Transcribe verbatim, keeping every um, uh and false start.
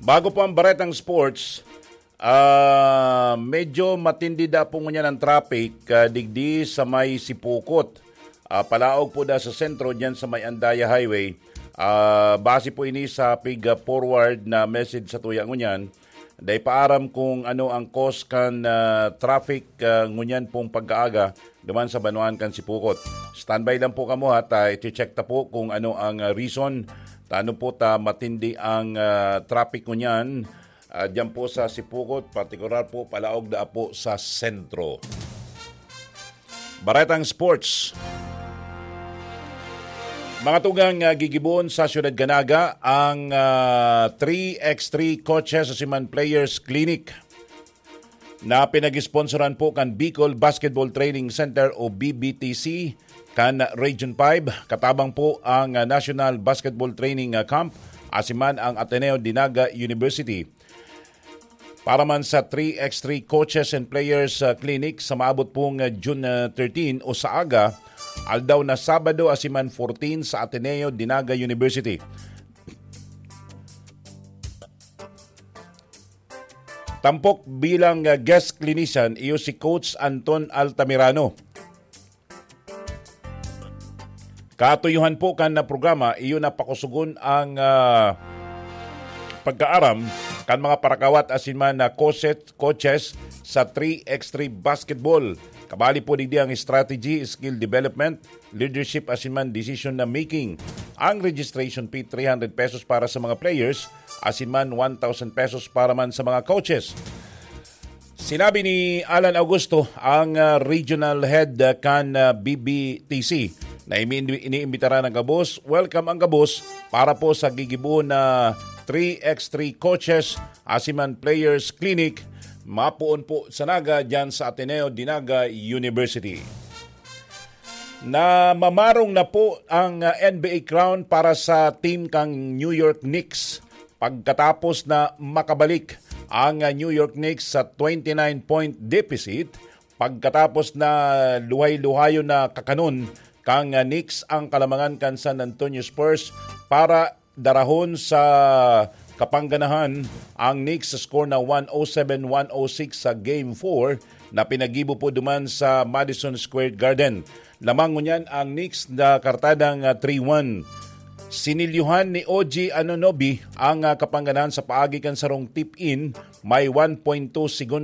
Bago po ang baretang sports, ah, medyo matindi da po ngunyan ang traffic, ah, digdi sa may Sipukot. Ah, palaog po da sa sentro, dyan sa may Andaya Highway. Ah, base po ini sa pig, ah, forward na message sa tuya ngunyan. Dai pa aram kung ano ang cause kan, ah, traffic, ah, ngunyan pong pagkaaga duman sa banwaan kan Sipukot. Standby lang po kamo ha, ta i-check ta po kung ano ang, ah, reason. Tano po ta matindi ang, ah, traffic ngunyan, ah, diyan po sa Sipukot, partikular po palaog da po sa sentro. Baretang Sports. Mga tugang, ah, gigibohon sa Siyudad Ganaga ang, ah, three x three Coaches Asiman Players Clinic na pinag-sponsoran po kan Bicol Basketball Training Center o B B T C kan Region five. Katabang po ang, ah, National Basketball Training, ah, Camp asiman ang Ateneo de Naga University. Para man sa three x three Coaches and Players, ah, Clinic sa maabot pong, ah, June, ah, thirteen o sa aga, aldaw na Sabado asiman fourteen sa Ateneo de Naga University. Tampok bilang, ah, guest clinician iyo si Coach Anton Altamirano. Katuyuhan po kan na programa, iyo na pakusugon ang, ah, pagkaaram kan mga parakawat asin man na coaches, coaches sa three x three basketball. Kabali po digdi ang strategy, skill development, leadership asin man decision na making. Ang registration fee, three hundred pesos para sa mga players, asin man one thousand pesos para man sa mga coaches. Sinabi ni Alan Augusto, ang, ah, regional head, ah, kan, ah, B B T C, na imi-, iniimbitaran ang gabos. Welcome ang gabos para po sa gigibo na three x three coaches asiman players clinic. Mapoon po sa Naga, dyan sa Ateneo de Naga University. Na mamarong na po ang, ah, N B A crown para sa team kang New York Knicks pagkatapos na makabalik ang, ah, New York Knicks sa twenty-nine point deficit pagkatapos na luhay-luhayon na kakanon kang, ah, Knicks ang kalamangan kan San Antonio Spurs para darahon sa kapangganahan ang Knicks sa score na one oh seven one oh six sa Game four na pinagibo po duman sa Madison Square Garden. Lamang ngunyan ang Knicks na kartadang, ah, three one. Sinilyuhan ni O G Anunoby ang, ah, kapangganahan sa paagi kan sarong tip-in, may one point two segundos